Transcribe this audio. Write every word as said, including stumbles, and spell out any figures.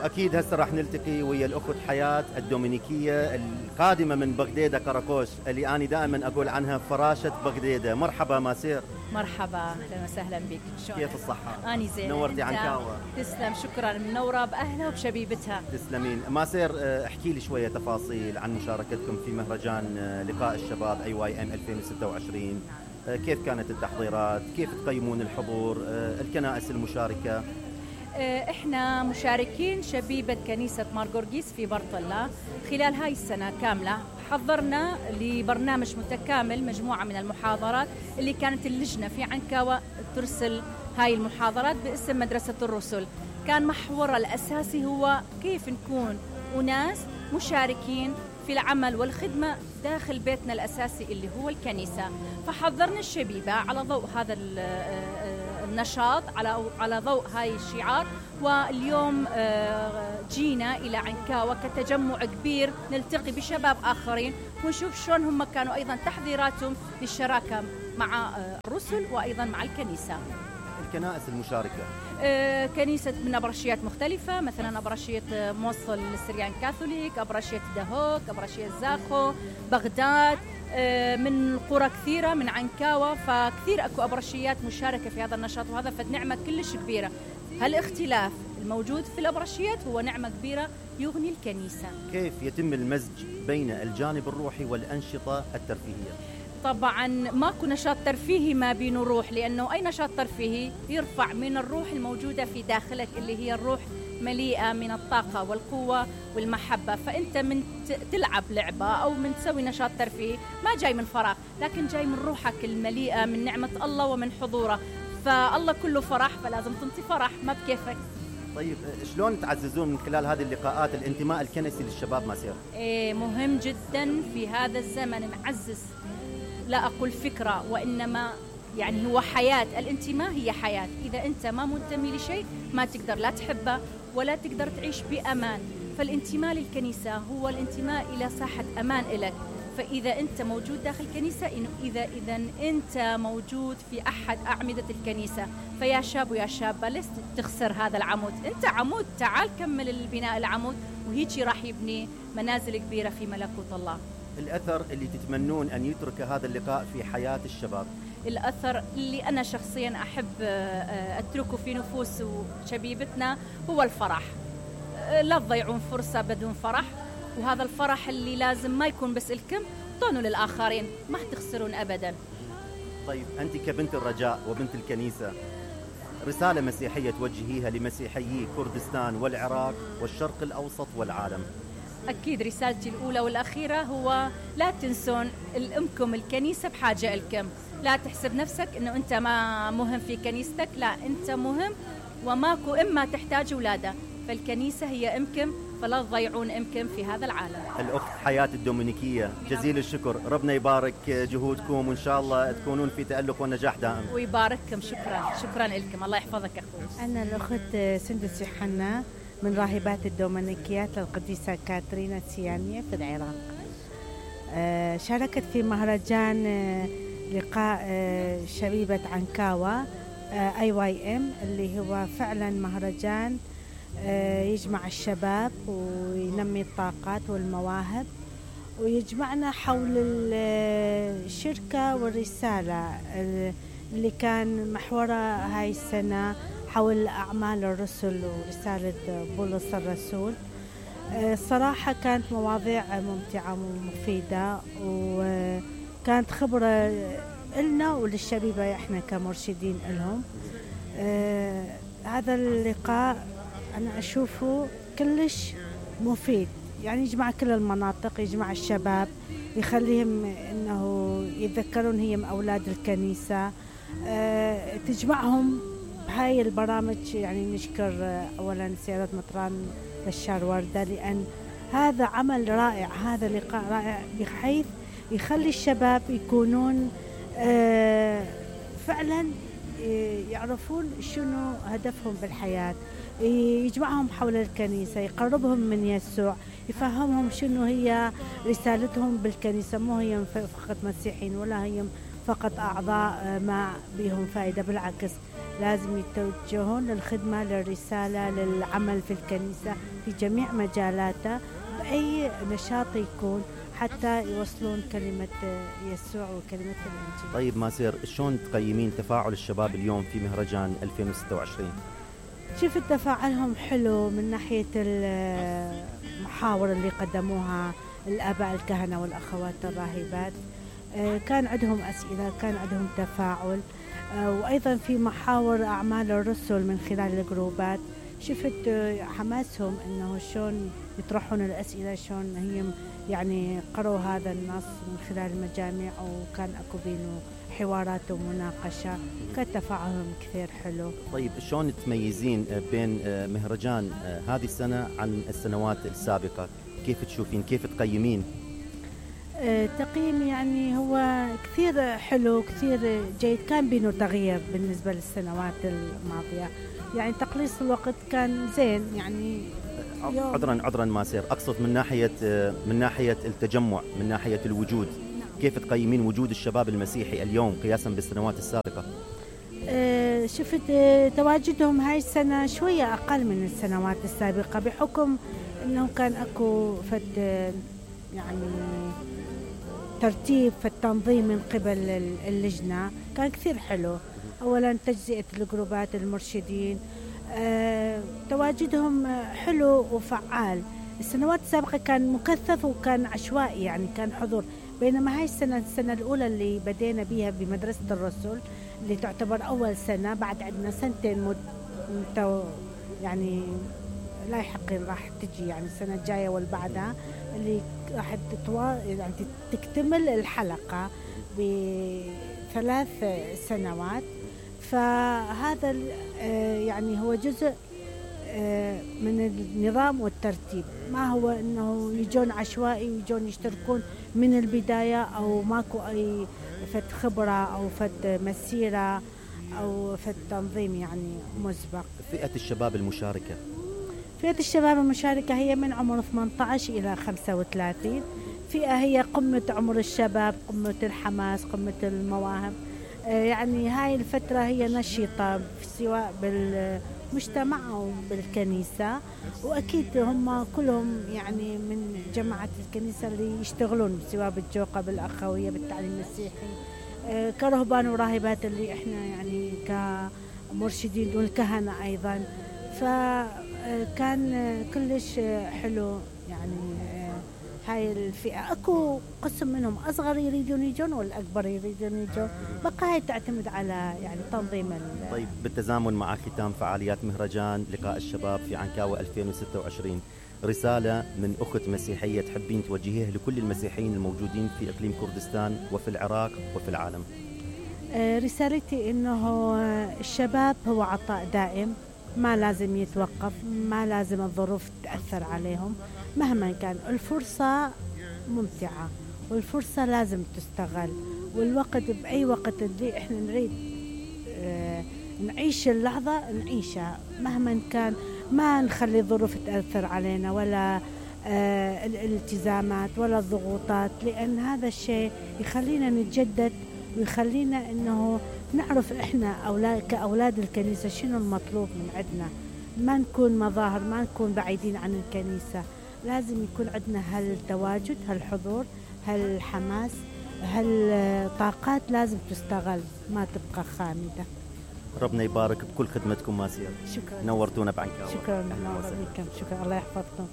واكيد هسه راح نلتقي ويا الاخت حياة الدومينيكية القادمة من بغديدة كراكوش، اللي انا دائما اقول عنها فراشة بغديدة. مرحبا ماسير. مرحبا، اهلا وسهلا بك. كيف الصحة؟ اني زين. نورتي عنكاوة. تسلم، شكرا. منورة باهلها وبشبيبتها. تسلمين. ماسير، احكي لي شوية تفاصيل عن مشاركتكم في مهرجان لقاء الشباب اي واي ام ألفين وستة وعشرين. كيف كانت التحضيرات؟ كيف تقيمون الحضور؟ الكنائس المشاركة؟ احنا مشاركين شبيبة كنيسة مارغورغيس في برطلة. خلال هاي السنة كاملة حضرنا لبرنامج متكامل مجموعة من المحاضرات اللي كانت اللجنة في عنكاوة ترسل هاي المحاضرات باسم مدرسة الرسل. كان محورها الأساسي هو كيف نكون أناس مشاركين في العمل والخدمة داخل بيتنا الأساسي اللي هو الكنيسة. فحضرنا الشبيبة على ضوء هذا النشاط، على على ضوء هاي الشعار. واليوم جينا إلى عنكاوة كتجمع كبير نلتقي بشباب آخرين ونشوف شلون هم كانوا أيضا تحضيراتهم للشراكة مع الرسل وأيضا مع الكنيسة. الكنائس المشاركة آه، كنيسة من أبرشيات مختلفة، مثلا أبرشية موصل السريان كاثوليك، أبرشية دهوك، أبرشية زاخو، بغداد، آه، من قرى كثيرة من عنكاوة. فكثير أكو أبرشيات مشاركة في هذا النشاط، وهذا فد نعمة كلش كبيرة. هالاختلاف الموجود في الأبرشيات هو نعمة كبيرة يغني الكنيسة. كيف يتم المزج بين الجانب الروحي والأنشطة الترفيهية؟ طبعا ماكو نشاط ترفيهي ما بينه روح، لأنه أي نشاط ترفيهي يرفع من الروح الموجودة في داخلك اللي هي الروح مليئة من الطاقة والقوة والمحبة. فأنت من تلعب لعبة أو من تسوي نشاط ترفيهي ما جاي من فراغ، لكن جاي من روحك المليئة من نعمة الله ومن حضوره. فالله كله فرح، فلازم تنطي فرح ما بكيفك. طيب شلون تعززون من خلال هذه اللقاءات الانتماء الكنسي للشباب ماسير؟ إيه مهم جدا في هذا الزمن نعزز، لا أقول فكرة وإنما يعني هو حياة. الانتماء هي حياة. إذا أنت ما منتمي لشيء ما تقدر لا تحبه ولا تقدر تعيش بأمان. فالانتماء للكنيسة هو الانتماء إلى ساحة أمان إلك. فإذا أنت موجود داخل الكنيسة، إنه إذا إذا أنت موجود في أحد أعمدة الكنيسة، فيا شاب ويا شابة لست تخسر هذا العمود. أنت عمود، تعال كمل البناء العمود، وهيجي راح يبني منازل كبيرة في ملكوت الله. الأثر اللي تتمنون أن يترك هذا اللقاء في حياة الشباب؟ الأثر اللي أنا شخصيا أحب أتركه في نفوس شبيبتنا هو الفرح. لا تضيعون فرصة بدون فرح، وهذا الفرح اللي لازم ما يكون بس لكم، طونوا للآخرين، ما تخسرون أبدا. طيب أنت كبنت الرجاء وبنت الكنيسة، رسالة مسيحية توجهيها لمسيحيي كردستان والعراق والشرق الأوسط والعالم؟ أكيد رسالتي الأولى والأخيرة هو لا تنسون الأمكم الكنيسة بحاجة لكم. لا تحسب نفسك أنه أنت ما مهم في كنيستك، لا أنت مهم، وماكو إما تحتاج أولادة، فالكنيسة هي أمكم، فلا تضيعون أمكم في هذا العالم. الأخت حياة الدومينيكية، جزيل الشكر، ربنا يبارك جهودكم وإن شاء الله تكونون في تألق ونجاح دائم. ويبارككم. شكرا شكرا لكم، الله يحفظك أخوي. أنا الأخت سندس يوحنا من راهبات الدومينيكيات للقديسة كاترينا السيانية في العراق. آه شاركت في مهرجان آه لقاء آه شبيبة عنكاوة آه اي واي ام، اللي هو فعلا مهرجان آه يجمع الشباب وينمي الطاقات والمواهب، ويجمعنا حول الشركة والرسالة اللي كان محورها هاي السنة حول أعمال الرسل ورسالة بولس الرسول. الصراحة كانت مواضيع ممتعة ومفيدة، وكانت خبرة لنا وللشبيبة احنا كمرشدين لهم. هذا اللقاء أنا أشوفه كلش مفيد، يعني يجمع كل المناطق، يجمع الشباب، يخليهم إنه يتذكرون هي أولاد الكنيسة، تجمعهم بهاي البرامج. يعني نشكر أولا سيادة مطران بشار وردة، لأن هذا عمل رائع، هذا لقاء رائع بحيث يخلي الشباب يكونون فعلا يعرفون شنو هدفهم بالحياة، يجمعهم حول الكنيسة، يقربهم من يسوع، يفهمهم شنو هي رسالتهم بالكنيسة. مو هي فقط مسيحيين ولا هي فقط أعضاء ما بهم فائدة، بالعكس لازم يتوجهون للخدمة، للرسالة، للعمل في الكنيسة في جميع مجالاتها بأي نشاط يكون، حتى يوصلون كلمة يسوع وكلمة الإنجيل. طيب ماسير، شلون تقيمين تفاعل الشباب اليوم في مهرجان ألفين وستة وعشرين؟ شوف تفاعلهم حلو من ناحية المحاور اللي قدموها الآباء الكهنة والأخوات الراهبات، كان عندهم أسئلة، كان عندهم تفاعل، وأيضا في محاور أعمال الرسل من خلال الجروبات شفت حماسهم إنه شلون يطرحون الأسئلة، شلون هي يعني قروا هذا النص من خلال المجامع، وكان أكو بينه حوارات ومناقشة، كان تفاعلهم كثير حلو. طيب شلون تميزين بين مهرجان هذه السنة عن السنوات السابقة؟ كيف تشوفين، كيف تقيمين؟ تقييم يعني هو كثير حلو، كثير جيد، كان بينه تغيير بالنسبة للسنوات الماضية، يعني تقليص الوقت كان زين يعني. عذرا عذرا ماسير، أقصد من ناحية من ناحية التجمع، من ناحية الوجود، كيف تقيمين وجود الشباب المسيحي اليوم قياسا بالسنوات السابقة؟ أه شفت تواجدهم هاي السنة شوية أقل من السنوات السابقة، بحكم أنه كان أكو فد يعني ترتيب في التنظيم من قبل اللجنة، كان كثير حلو. أولا تجزئة الجروبات المرشدين، أه تواجدهم حلو وفعال. السنوات السابقة كان مكثف وكان عشوائي، يعني كان حضور، بينما هاي السنة السنة الأولى اللي بدينا بيها بمدرسة الرسل اللي تعتبر أول سنة، بعد عندنا سنتين مد... يعني لاحقين راح تجي، يعني السنة الجاية والبعدها اللي راح تتوا... يعني تكتمل الحلقة بثلاث سنوات. فهذا يعني هو جزء من النظام والترتيب، ما هو انه يجون عشوائي ويجون يشتركون من البداية، او ماكو اي فت خبرة او فت مسيرة او فت تنظيم يعني مسبق. فئة الشباب المشاركة فئة الشباب المشاركة هي من عمر ثمانية عشر إلى خمسة وثلاثين، فئة هي قمة عمر الشباب، قمة الحماس، قمة المواهب، يعني هاي الفترة هي نشيطة سواء بالمجتمع أو بالكنيسة، وأكيد هم كلهم يعني من جماعة الكنيسة اللي يشتغلون سواء بالجوقة، بالأخوية، بالتعليم المسيحي، كرهبان وراهبات اللي إحنا يعني كمرشدين والكهنة أيضا. فكان كلش حلو يعني هاي الفئة. أكو قسم منهم أصغر يريدون يجون والأكبر يريدون يجون، بقى هاي تعتمد على يعني تنظيم. طيب بالتزامن مع ختام فعاليات مهرجان لقاء الشباب في عنكاوة ألفين وستة وعشرين، رسالة من أخت مسيحية تحبين توجهيها لكل المسيحيين الموجودين في إقليم كردستان وفي العراق وفي العالم؟ رسالتي إنه الشباب هو عطاء دائم، ما لازم يتوقف، ما لازم الظروف تأثر عليهم، مهما كان الفرصة ممتعة والفرصة لازم تستغل، والوقت بأي وقت اللي احنا نريد اه نعيش اللحظة نعيشها مهما كان، ما نخلي الظروف تأثر علينا ولا اه الالتزامات ولا الضغوطات، لأن هذا الشيء يخلينا نتجدد ويخلينا انه نعرف احنا أولاد كأولاد الكنيسة شنو المطلوب من عندنا، ما نكون مظاهر، ما نكون بعيدين عن الكنيسة، لازم يكون عندنا هالتواجد، هالحضور، هالحماس، هالطاقات لازم تستغل، ما تبقى خامدة. ربنا يبارك بكل خدمتكم ماسير. شكرا، نورتونا بعنكاوة. شكرا، نور بكم، شكرا، الله يحفظكم.